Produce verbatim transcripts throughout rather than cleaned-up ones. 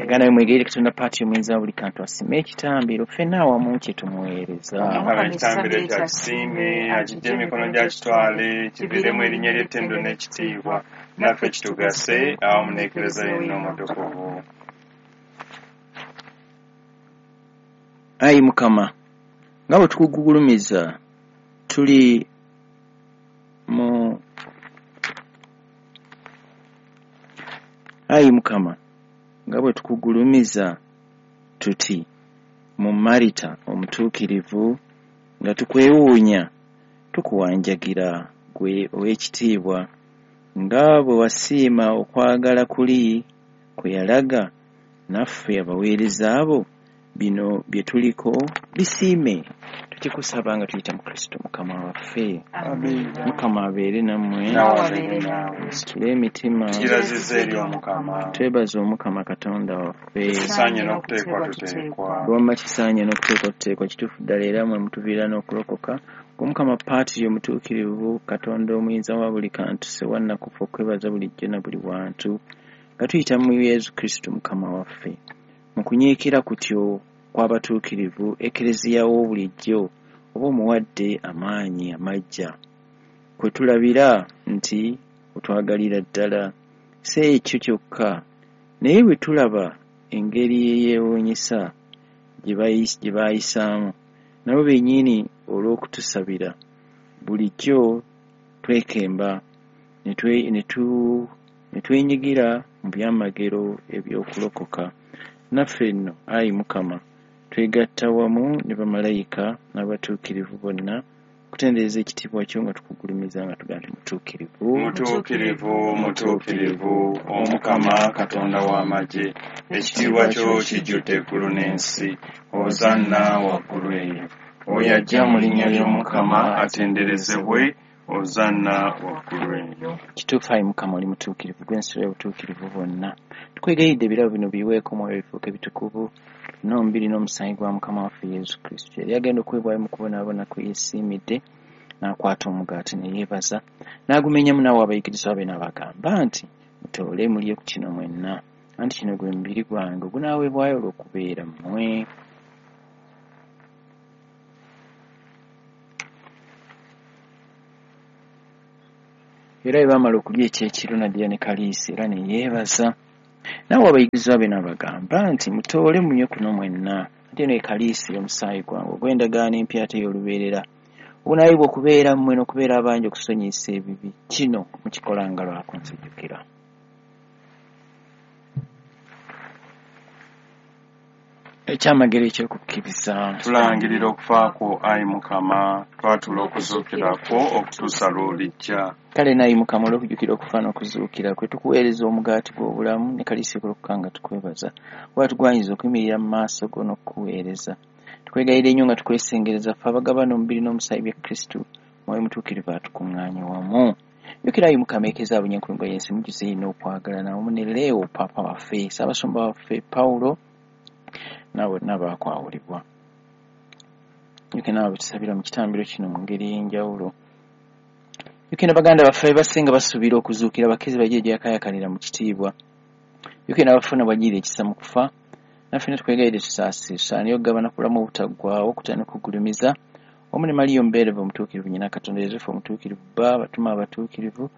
Baganda be mwegayirire Katonda Paati omuyinza wa buli kantu asime ekitambiro ffenna awamu kye tumuweereza. Omukama ekitambiro ekyo akisiime, akiggye emikono gye akitwale, kiviiremu erinnya ly'ettendo n'ekitiibwa, naffe kitugase awamu n'Ekereziya yonna omutukuvu. Ayi Mukama, nga bwe tukugulumiza tuli mu Ayi Mukama, nga bwe tukugulumiza tuti mu Marita omutuukirivu, nga tukwewuunya tukuwanjagira gwe ow'ekitiibwa, nga bwe wasiima okwagala kuli kwe yalaga naffe abaweereza abo, bino bye tuliko bisiime. Tukikusaba nga tuyita mu Kristo Mukama waffe. Amiina. Mukama abeere nammwe. Naawe abeere naawe. Situle emitima. Tukirazizza eri Omukama. Twebaze Omukama Katonda waffe. Kisaanye n'okuteekwa tuteekwa. Wamma kisaanye n'okuteekwa tuteekwa, kituufu ddala era mwe mutuviira n'okulokoka. Omukama Paatiri omutuukirivu, Katonda omuyinza wa buli kantu, ssewannakufa okwebaza bulijjo na buli wantu, nga tuyita mu Yesu Kristo Mukama waffe. Mu kunyiikira kutyo kw'abatuukirivu, Ekereziya wo bulijjo oba omuwadde amaanyi amajja, kwe tulabira nti otwagalira ddala. Si ekyo kyokka, naye bwe tulaba engeri eyeewuunyisa gye baayisaamu, nabo bennyini olw'okutusabira, bulijjo twekemba ne twenyigira mu byamagero eby'okulokoka. Naffe nno, ayi Mukama, twegatta wamu ne bamalayika n'abatuukirivu bonna okutendereza ekitiibwa kyo nga tukugulumiza nga tugamba nti mutuukirivu. Mutuukirivu, mutuukirivu, Omukama Katonda w'amagye, ekitiibwa kyo kijjudde eggulu n'ensi. Hosanna waggulu eyo. Oyo ajja mu linnya ly'Omukama atenderezebwe. Hosanna waggulu eyo. Kituufu ayi Mukama oli mutuukirivu, gw'ensulo y'obutuukirivu bwonna. Tukwegayiridde ebirabo bino biweeko omwoyo bifuuke bitukuvu, n'omubiri n'omusaayi gwa Mukama waffe Yesu Kristo. Yali agenda okuweebwayo mu kubonaabona kwe yeesiimidde, n'akwata omugaati ne yeebaza, n'agumenyamu n'awa abayigirizwa be n'abagamba nti, mutoole mulye ku kino mwenna, anti kino gwe mubiri gwange ogunaaweebwayo olw'okubeera mmwe. Era bwe baamala okulya ekyekiro n'addira ne kaliisi era ne yeebaza, n'awa abayigirizwa be n'abagamba nti, mutoole munywe kuno mwenna, ate eno ye kaliisi y'omusaayi gwange ogw'endagaano empya ate ey'olubeerera, ogunaayibwa okubeera mmwe n'okubeera abangi okusonyiyisa ebibi. Kino mukikolanga lwa kunzijukira. Ekyamagero eky'okukkiriza. Tulangirira okufa kwo, ayi Mukama, twatula okuzuukira kwo okutuusa lw'olijja. Kale n'ayi Mukama, olw'okujjukira okufa n'okuzuukira kwe, tukuweereza omugaati gw'obulamu ne kaliisi okulokoka nga tukwebaza, kuba tugwanyiza okuyimirira mu maaso go n'okukuweereza. Tukwegayirira ennyo nga tukwesengereza ffe abagabana omubiri n'omusaayi bya Kristo, Mwoyo Mutuukirivu atukuŋŋaanye wamu. Jjukira ayi Mukama Ekereziya abunye enkulungo y'ensi, mujjuze eno okwagala wamu ne Leo Paapa waffe, Ssaabasumba waffe Pawulo, nabo bonna baakwawulibwa. Jjukira nabo betusabira mu kitambiro kino mu ngeri ey'enjawulo. Jjukira baganda baffe abasinga basuubira okuzuukira, bakkirize bajje gyakaayakanira mu kitiibwa. Jjukira n'abafuna bw'ajjira ekisa mu kufa, naffe ne tukwegayirire tusaasire, tusaanire okugabana ku bulamu obutaggwaawo okutya n'okugulumiza, wamu ne Mariya omubeerevu omutuukirivu nnyina Katonda, Yosefu omutuukirivu bba, abatume abatuukirivu,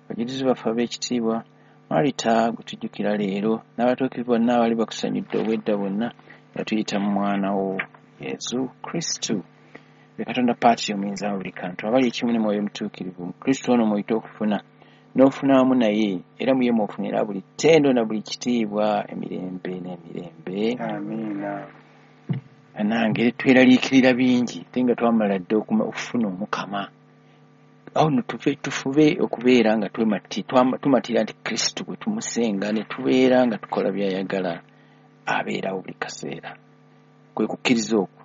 abajulizi baffe ab'ekitiibwa, Marita gwe tujjukira leero, n'abatuukirivu bonna abali bakusanyudde obwedda bwonna, nga tuyita mu mwana wo Yesu Kristo. Be Katonda Paatiri omuyinza wa buli kantu, abali ekimu ne Mwoyo Mutuukirivu, mu Kristo ono mw'oyita okufuna n'ofuna wamu naye, era mu ye mw'ofunira buli ttendo na buli kitiibwa emirembe n'emirembe. Amiina. Bannange tweraliikirira bingi, ate nga twamala dda okufuna Omukama. Awo nno tufe tufube okubeera nga tumatira nti Kristo bwe tumusenga ne tubeera nga tukola by'ayagala, abeerawo buli kaseera. Kwe kukkiriza okwo.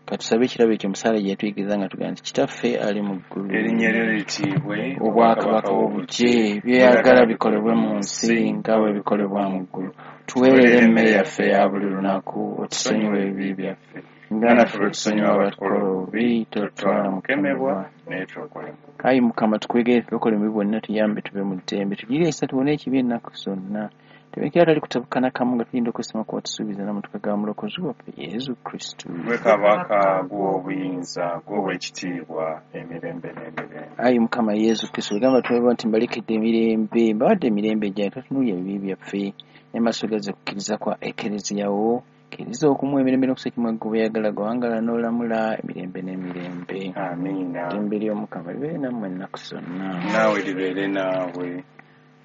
Katusabe ekirabo ekyo omusaala gye yatuyigiriza nga tugamba nti Kitaffe ali mu ggulu, erinnya lyo litiibwe, obwakabaka bwo bujje, by'oyagala bikolebwe mu nsi nga bwe bikolebwa mu ggulu. Tuweerere emmere yaffe eya buli lunaku, otusonyiwe ebibi byaffe nga naffe bwe tusonyiwa abatukola obubi, totutwala mu kukemebwa, naye tulokole. Ayi Mukama, tukwegere tulokole mu bibi bwonna, tuyambe tube mu ddembe, tugire ekisa tuwone ekibi ennaku zonna, Tebekera tali kutabukana kamu nga tulinda okwesima kuba tusuubiza n'amatuka ga Mulokozi waffe Yesu Kristo. Gwe Kabaka, gw'obuyinza, gw'owekitiibwa emirembe n'emirembe. Ayi Mukama Yesu Kristo, ogamba tweba nti mbalekedde emirembe, mbawadde emirembe gyange, totunuulira ebibi byaffe, naye maaso gazze kukkiriza kwa Ekereziya wo, kkiriza okumuwa emirembe n'okussa ekimu gwe bweyagala gwawangala n'olamula emirembe n'emirembe. Amiina. Eddembe ly'Omukama libeere nammwe ennaku zonna. Naawe libeere naawe.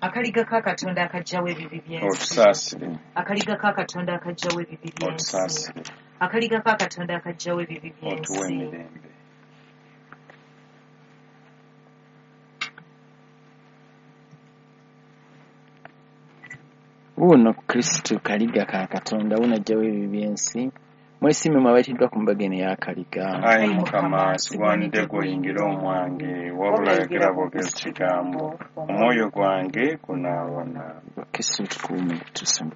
Akaliga ka Katonda akaggyawo ebibi by'ensi. Otusaasire. Akaliga ka Katonda akaggyawo ebibi by'ensi. Otusaasire. Akaliga ka Katonda akaggyawo ebibi by'ensi. Otuwe emirembe. Wuuno Kristo kaliga ka Katonda, wuuno aggyawo ebibi by'ensi. Mwesiime mmwe abayitiddwa ku mbaga eno ey'akaliga. Ayi Mukama, sigwanidde gw'oyingire omwange, wabula yogera bwogezi kigambo, omwoyo gwange gunaawona. Kristo tukuume tutuuse mu